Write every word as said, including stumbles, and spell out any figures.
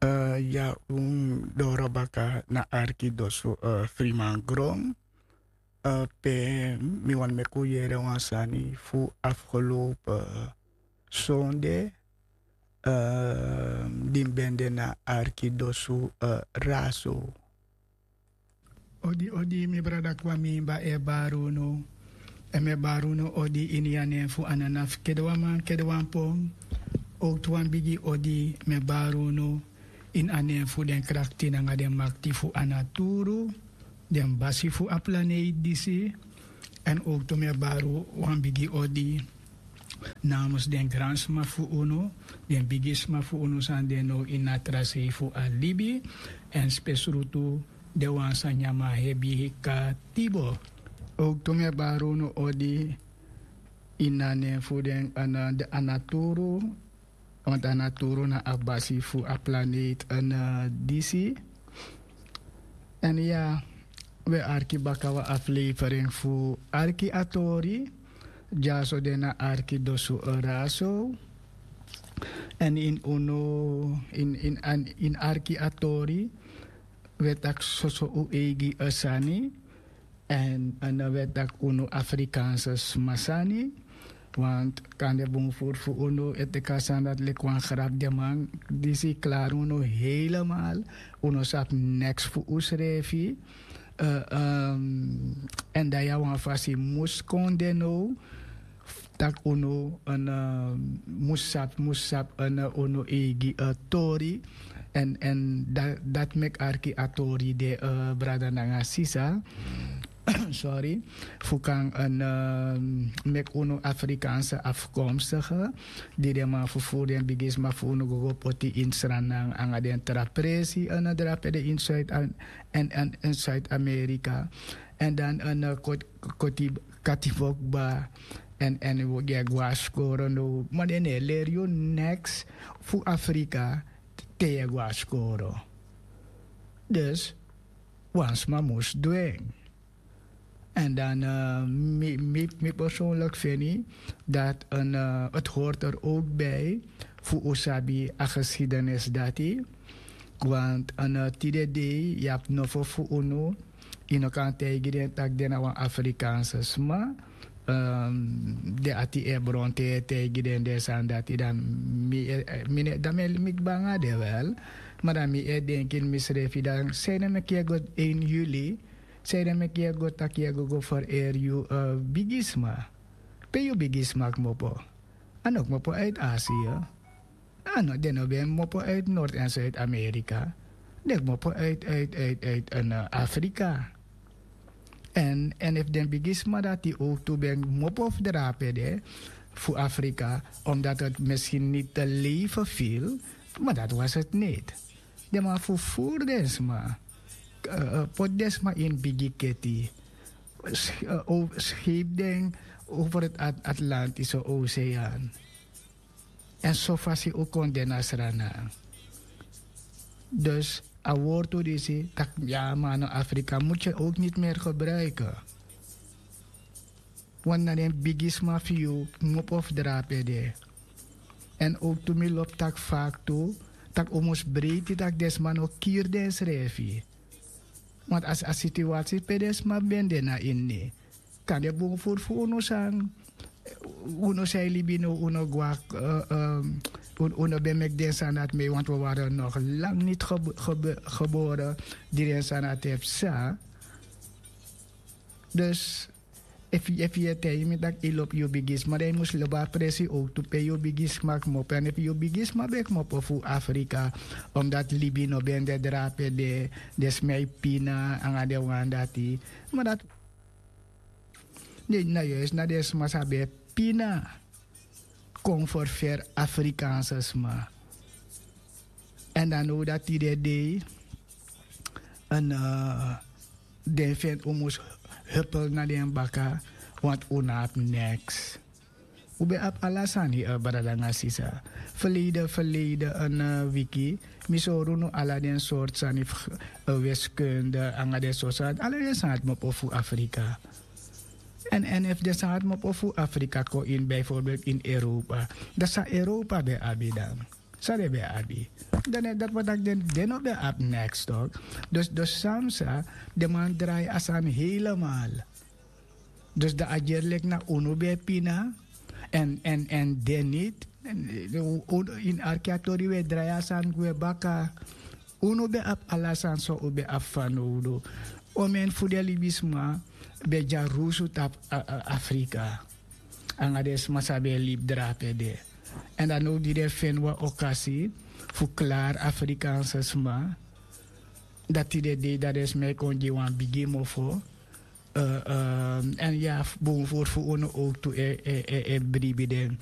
Ya un doro baka na arki dosu, friman gron. Pe mi wani meki un yere wan sani fu afgelopen sonde, di mi ben de na arki dosu, raso. Odi odi mi brada kwami, mi ba e bari unu. Èn mi e bari unu odi ini a nen fu ananafu kedewan man kedewan pon. Owtu wan bigi odi mi e bari unu ini a nen fu den krakti nanga den makti fu a naturu, den basi fu a planeiti disi. Èn owtu mi e bari wan bigi odi namens den gransma fu unu, den bigisma fu unu san de now ini a tra sei fu a libi, èn spesrutu den wan san nyan man hebi katibo. Owtu mi e bari unu odi ini a nen fu den, a naturu. Want a naturu na a basi fu a planeiti disi. Èn ya, wi e arki baka wan aflevering fu arki a tori. Dyaso de na arki dosu raso. Èn ini unu, ini arki a tori, wi e taki soso un eigi sani. Èn wi e taki unu Afrikaanse sma sani. Want kande bun furu fu unu e teki a sani dati leki wan grapu. Den man disi klari unu helemaal. Un no sabi neks fu unsrefi. Èn dan ya wan fasi mus kon de now, tak' unu mus sabi, mus sabi unu eigi tori. Èn dati meki arki a tori de, brada nanga sisa. Sorry. Fu kan meki unu Afrikaanse afkomstige, di den man fu furu den bigisma fu unu go go poti ini Sranan anga den tra presi drape de ini Zuid-Amerika. Èn dan koti katibo kba. Èn wi e go na skoro now, ma den no e leri yu neks fu Afrika te yu e go na skoro. Dus wan sma mus du en. Èn dan mi persoonlijk feni dat het hoort er ook bij fu un sabi a geschiedenis dati. Want tide dei yu abi nofo fu unu, yu no kan taigi den tak' den na wan Afrikaanse sma. Den ati e bron te yu e taigi den den sani dati, dan mi e, mi ne dan mi e meki banga de wel. Ma dan mi e denki ini misrefi, dan sanede meki yu e go één juli, sanede meki yu e go tak' yu e go go fereri yu bigisma? Pe yu bigisma kmopo? A no kmopo uit Asia. A no, den no ben kmopo uit Noord en Zuid-Amerika. Den kmopo uit, uit, uit, uit Afrika. Èn efu den bigisma dati owtu ben kmopo fu drape de fu Afrika, omdat het misschien niet te leven viel, maar dat was het niet. Den man fu furu den sma, poti den sma ini bigi keti, skepu den over het Atlantische Oceaan. Èn so fasi un kon de na Sranan. Dus a wortu disi tak' ya, man, no, Afrika moet je ook niet meer gebruiken. Want na den bigisma fu yu kmopo fu drape de. Èn owtu mi lobi taki faki tu, tak' un mus breiti tak' den sma no kiri densrefi. Want a si a situasi pe den sma ben de na ini, kande bun furu fu unu san, unu san e libi now, unu gwa, unu ben meki den sani dati mei, want wi wari nog lang niti gebore di den sani dati e psa. Dus efu yu e taigi mi tak' yu lobi yu bigisma, dan yu mus lobi a presi owtu pe yu bigisma kmopo. Èn efu yu bigisma ben kmopo fu Afrika, omdat libi no ben de drape de, den sma e pina anga den wan dati. Ma dati, na juist na den sma san ben e pina kon ferferi Afrikaanse sma. Èn dan now dati den dei, den feni un mus hupel na den baka, want un no abi neks. Un ben abi ala sani, brada nanga sisa. Ferleden, ferleden wiki mi sori unu ala den sortu sani fu wiskunde anga den sortu sani, ala den sani dati kmopo fu Afrika. Èn efu den sani dati kmopo fu Afrika kon ini bijvoorbeeld ini Europa, dan san Europa ben abi dan? San den ben abi? Dan dati wani taki den no ben abi neks tok. Dus dus samsa den man drai a sani helemal. Dus dan a gerlik na unu ben pina. Èn èn èn den niti ini arki a tori un e drai a sani gwe baka. Unu ben abi ala sani san un ben abi fanowdu. Omen fu den libisma ben dyarusu tapu afrika nanga den sma san ben e libi drape de. Èn dan now di den feni wan okasi fu klari afrikanse sma, dati den dei dan den sma e kon gi wan bigi mofo. Èn ya, bun furu fu unu owtu e bribi den.